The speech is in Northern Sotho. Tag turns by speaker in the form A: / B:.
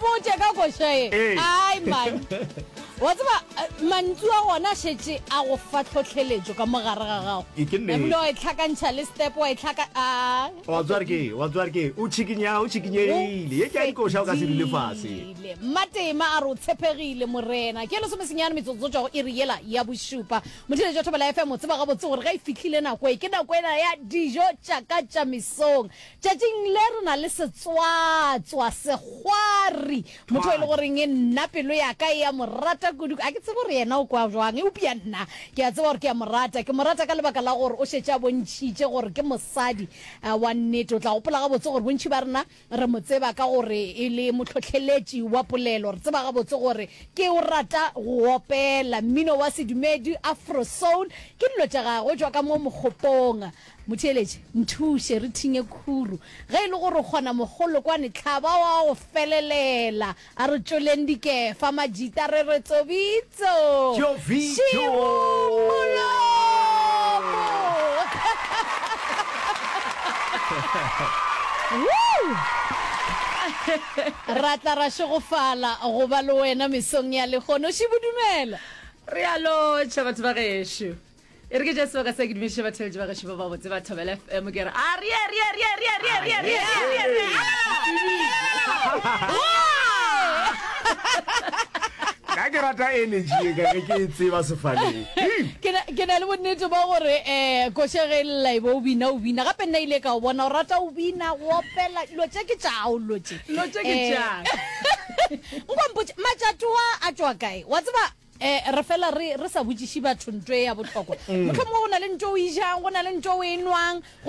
A: mpotše ka koša ye.
B: Ee.
A: Ai man. Wa tseba eh, mantšu a gona a šetše a go fa tlhohleletšo ka mo gare ga gago.
B: Ke- ke nnete.
A: Ebile wa e tlhakantšha le step wa e tlhaka a.
B: Wa tswa re ke, wa tswa re ke, o tšhikinya, o tšhikinyegile. Ye ke ya dikoša o ka se dule fase.
A: Fedile. Mmatema a re o tshepegile Morena. Ke lesomesenyane metsotso tšwa go iri yela ya bošupa. Motheeletši wa Thobela FM o tseba gabotse gore ge e fihlile nako e, ke nako ena ya dijo tša ka tša mesong. Tšatšing le re na le setswatswa, sekgwari, motho e le goreng nna pelo ya ka e a mo rata kudu. A ke tsebe gore yena o kwa bjang, eupša nna ke a tseba gore ke a mo rata. Ke mo rata ka lebaka la gore o šetše a bontšhitše gore ke mosadi wa nnete. O tla gopola gabotse gore bontši ba rena re mo tseba ka gore e le mohlohleletši wa polelo. Re tseba gabotse gore ke o rata go opela mmino wa sedumedi, Afro soul, ke dilo tša gagwe. O tšwa ka mo Mokgopong. Motheeletši, nthuše re thinye khuru. Ge e le gore o kgona mogolokwane tlhaba wa go felelela. A re tšoleng dikefa majita re re tsobitso.
B: Tšobitšo.
A: Šibu molomo. Woo! Ra tla ra šegofala go ba le wena mesong ya lehono. Šibu dumela.
C: Re a lotšha batho ba gešo. E re ke tšee sebaka se ke dumediše batheeletši ba gešo ba babotse ba Thobela FM ke re a re re re re re re re re re
B: Nna ke rata energy ye ka ge ke e tseba sefaleng.
A: Ke na, ke na le bonnete ba gore um koše ge e lla e be o bina o bina gape nna ile ka o bona o rata o bina go opela dilo tše ke tšao dilo tše
C: Dilo tše ke
A: Eh,
C: tša ka.
A: nko mpotše matšatoa a tšwa kae wa tseba Eh, re fela re, re sa botšiše batho nto e ya bohlokwa. Mohlomongwe go na le nto o e jang, go na le nto o e nwang, go.